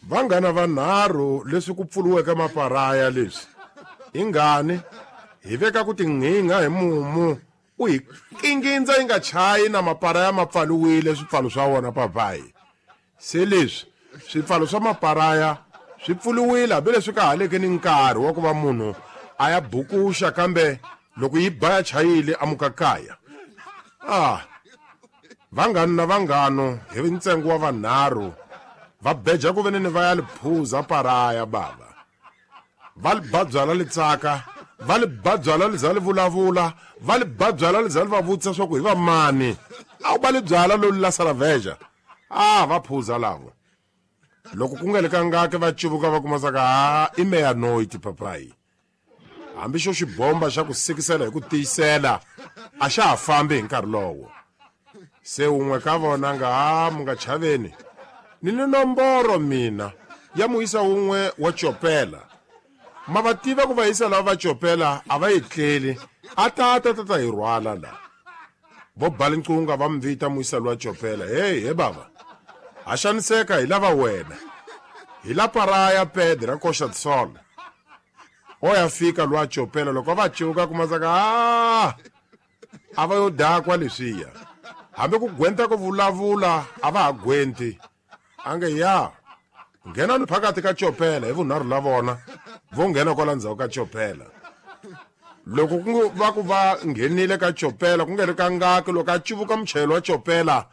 Vanghana vanharhu leswi ku pfuriweke maparaya leswi hi ngani hi veka ku tinghingha hi mumu u hi kingindza yi nga chayi na maparaya ma pfaliwile swipfalo swa wona papayi. Se leswi swipfalo swa maparaya swi pfuriwile hambileswi ka haleke ni nkarhi wa ku va munhu a ya bukuxa, kambe loko yi ba ya chayile a muka kaya. Ah, vanghano na vanghano hi ntsengo wa vanharhu va beja ku veneni va ya li phuza paraya bava. Va li ba byala li tsaka, va li ba byala li za li vulavula, va li ba byala li za li va vutisa swa ku hi va mani. A wu ba li byala lolu la Saraveja. Ah, va phuza lavo. Loko ku nga le ka ngaki va cuvuka va kuma saka ha i meya noiti papayi. Hambi xo xibomba xa ku sikisela hi ku tiyisela a xa ha fambi hi nkarhi lowo. Se un'we ka vona nga ha mu nga chaveni ni ni nomboro mina ya muyisa wun'we wa copela. Ma va tiva ku vayisa lava va copela a va etleli, a ta ta ta ta hi rhwala la. Vo ba linqunga va mi vita muyisa lowa copela. Hey, he bava, ha xaniseka hi lava wena. Hi la paraya pede ra koxa tisola. O ya fika lowa copela loko va cuka kuma saka a a va yo dakwa leswiya. Hambi ku gwenta ku vulavula a va ha gwenti. A nge ya nghenani phakathi ka copela hi vunharhu la vona vo nghena kwala ndzhaku ka copela. Loko ku va ku va nghenile ka copela ku nga ri ka ngaki loko a cuvuka muchayeri wa copela.